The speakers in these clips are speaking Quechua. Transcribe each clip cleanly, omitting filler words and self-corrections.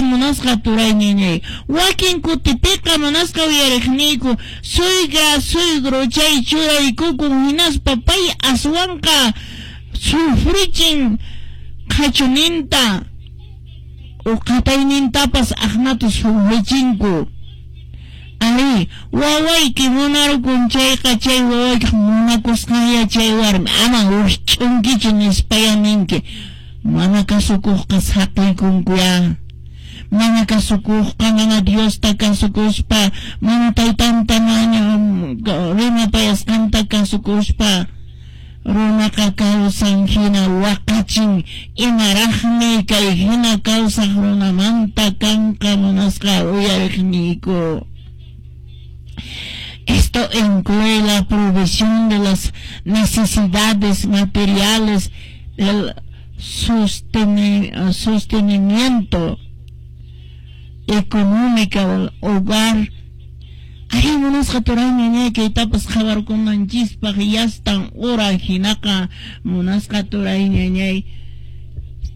Munasqa turay ñañay. Wakin kutipiqa munasqa uyariqniyku suegra suegro chay churaykukun hinaspa pay aswanqa sufrichin qhachuninta o qataynintapas aqnata sufrichinku. Ari, wawayki munarukun chayqa chay wawaykiq munakusqanya chay warmi ama wikch'unkichu nispaya ninki. Mana kasukuqqa saqiykunkuya. Mana kasukuqqa mana Diosta kasukuspa, mana taytanta rimapayasqanta kasukuspa, runaqa kawsan hina waqachin imaraqmi kay hina kawsaq runamanta kanqa munasqa uyariqniyku. Esto incluye la provisión de las necesidades materiales, el sostenimiento económico del hogar. Ay, munasqa turay ñañay kaytapas qhawarkunanchispaq yastan hora hinaqa munasqa turay ñañay.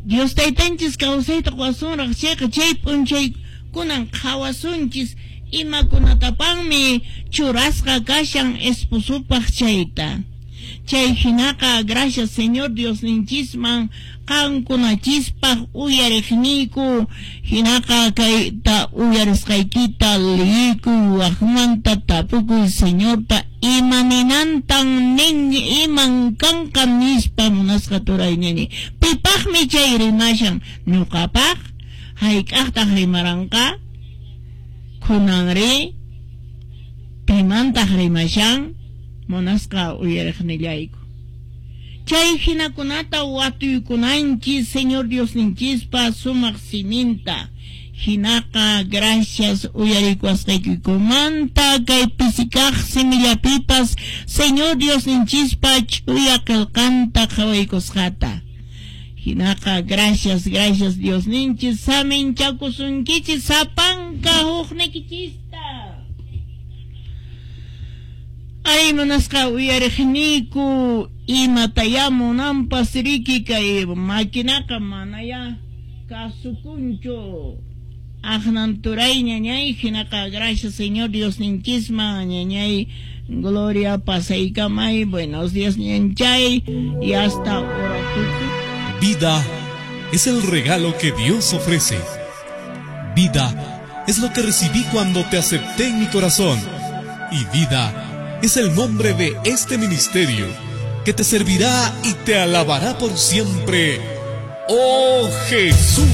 Dios taytanchis kawsayta qowasunraq chayqa chay p'unchaykunan qhawasunchis imakunatapanmi churasqa kashan esposopaq chayta. Chay hinaqa gracias Señor Diosninchisman qankunachispaq uyariqniyku hinaqa kayta uyarisqaykita liyikuy waqmanta tapukuy Señorta ima ninantan nin iman kanqa nispa munasqa turay ñañay. Pipaqmi chay rimashan ñuqapaq hayk'aqtaq rimaranqa kunanri pimantaq rimashan munasqa uyariqnillayku. Chay hinakunata watuykunanchis Señor Diosninchispa sumaq siminta. Hinaqa gracias uyarikuwasqaykikumanta kay pisikaq simillapipas Señor Diosninchispa ch'uya qillqanta qhawaykusqata. Hinaqa gracias, gracias Diosninchis saminchakusunkichis sapanka huknikichista. Ay munasqa uyariqniyku imataya munanpas riki kay maquinaqa manaya kasukunchu. Aqnan turay ñañay hinaqa gracias Señor Diosninchisman ñañay gloria pasaykamay buenos días ñanchay y hasta ahora. Vida es el regalo que Dios ofrece. Vida es lo que recibí cuando te acepté en mi corazón. Y vida es el nombre de este ministerio que te servirá y te alabará por siempre. ¡Oh Jesús!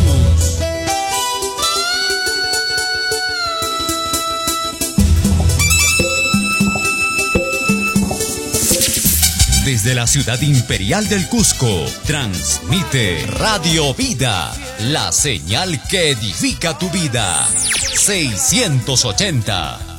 Desde la ciudad imperial del Cusco, transmite Radio Vida, la señal que edifica tu vida. 680.